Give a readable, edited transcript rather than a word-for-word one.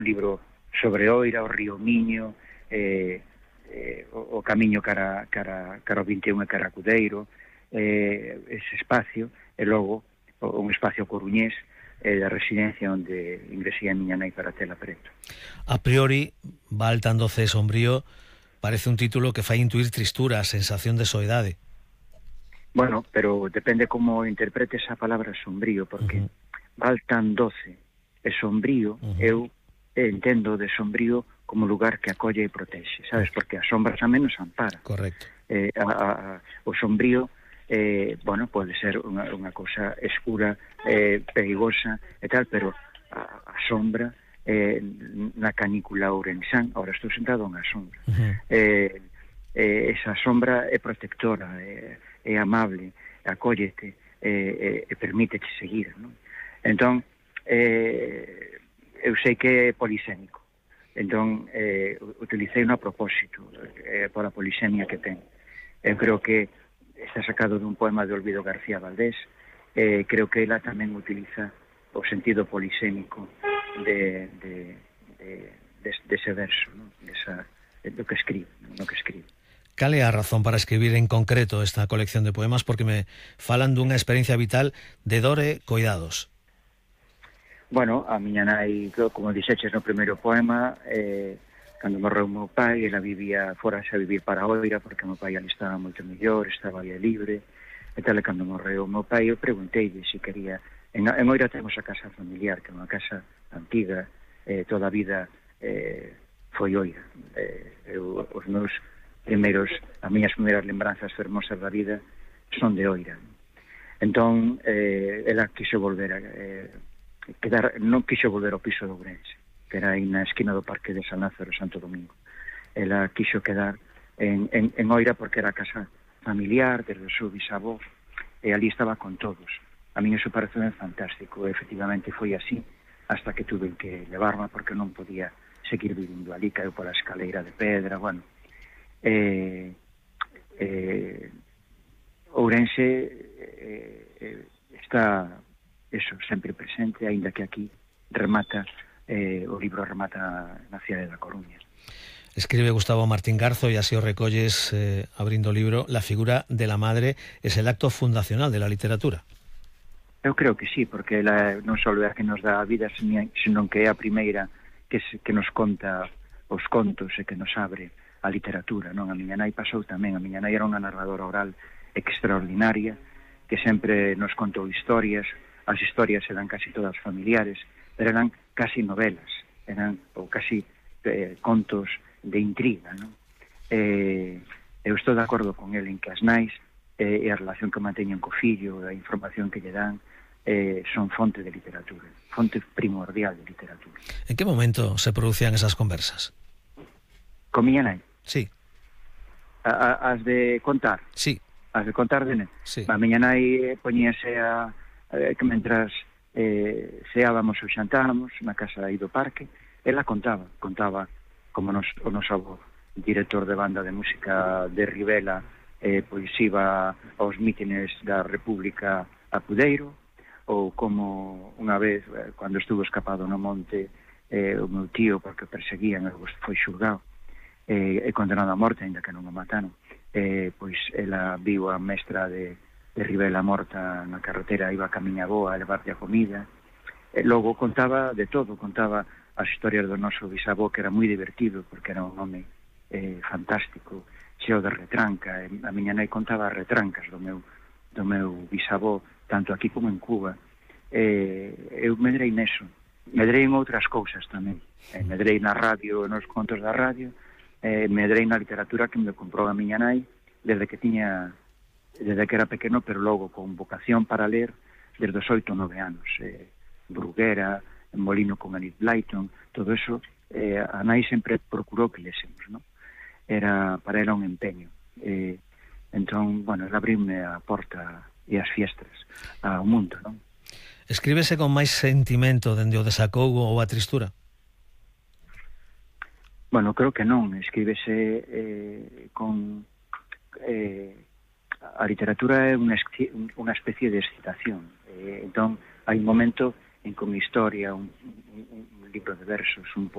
libro sobre Oira, o río Miño, o camiño cara o 21 e cara a Cudeiro, ese espacio, e logo un espacio coruñés da residencia onde ingresei a miña nai para tela preto. A priori, Val tan doce e sombrío parece un título que fai intuir tristura, sensación de soidade. Bueno, pero depende como interpretes a palabra sombrío, porque Val tan doce e sombrío, eu entendo de sombrío como lugar que acolle e protexe, sabes? Porque as sombras a menos ampara. Correcto. O sombrío, bueno, pode ser unha cousa escura, perigosa e tal, pero a sombra, na canícula ourensán, ahora estou sentado na sombra, esa sombra é protectora, é amable, acóllete, e permítete seguir, non? Entón, eu sei que é polisémico, entón utilicei a propósito por a polisemia que ten. Eu creo que está sacado dun poema de Olvido García Valdés, creo que ela tamén utiliza o sentido polisémico dese verso, non? Do que escribe, no que escribe. Cal é a razón para escribir en concreto esta colección de poemas? Porque me falan dunha experiencia vital de dor e coidados. Bueno, a miña nai, como dixeches no primeiro poema, cando morreu o meu pai, ela vivía fora a vivir para Oira, porque o meu pai ali estaba moito mellor, estaba ali libre, e tal, e cando morreu o meu pai, eu pregunteille se quería... En Oira temos a casa familiar, que é unha casa antiga, toda a vida foi Oira. Os meus as miñas primeiras lembranzas fermosas da vida son de Oira. Entón, ela quixo volver a... non quixo volver ao piso de Ourense, que era aí na esquina do Parque de San Lázaro, Santo Domingo. Ela quixo quedar en Oira porque era a casa familiar desde o seu bisavó, e ali estaba con todos. A mí iso parece fantástico, e efectivamente foi así, hasta que tuve que levarme porque non podía seguir vivindo ali, caeu pola escaleira de pedra, bueno. Ourense está... eso, sempre presente, aínda que aquí remata, o libro remata na cidade da Coruña. Escribe Gustavo Martín Garzo, e así o recolles abrindo o libro, la figura de la madre es el acto fundacional de la literatura. Eu creo que sí, porque ela non só é a que nos dá a vida, senón que é a primeira que nos conta os contos e que nos abre a literatura, non? A miña nai pasou tamén, a miña nai era unha narradora oral extraordinaria, que sempre nos contou historias. As historias eran casi todas familiares, pero eran casi novelas, ou casi contos de intriga, non? Eu estou de acordo con ele en que as nais e a relación que manteñen co fillo, a información que lle dan, son fonte de literatura, fonte primordial de literatura. En que momento se producían esas conversas? Con miña nai? Sí. As de contar? Sí. As de contar de nai? Sí. A miña nai poñíase que mentras ceábamos ou xantábamos na casa aí do parque, ela contaba como o noso avó, director de banda de música de Rivela, pois iba aos mítines da República a Cudeiro, ou como unha vez, cando estuvo escapado no monte, o meu tío, porque perseguían, foi xulgado e condenado a morte, ainda que non o mataron, pois ela viu a mestra de Rivela morta na carretera, iba a camiña boa a levarlle a comida. Logo contaba de todo, contaba as historias do noso bisavó, que era moi divertido, porque era un home fantástico, cheo de retranca. A miña nai contaba as retrancas do meu bisavó, tanto aquí como en Cuba. Eu medrei neso, medrei en outras cousas tamén. Medrei na radio, nos contos da radio, medrei na literatura que me comprou a miña nai desde que era pequeno, pero logo con vocación para ler desde os 8 ou 9 anos. Bruguera, Molino con Enid Blyton, todo eso, a nai sempre procurou que lésemos, non? Para ela un empeño. Entón, bueno, ela abriume a porta e as fiestras ao mundo, non? Escríbese con máis sentimento dende o desacougo ou a tristura? Bueno, creo que non. Escríbese con... a literatura é unha especie de excitación. Entón, hai un momento en que unha historia, un libro de versos, un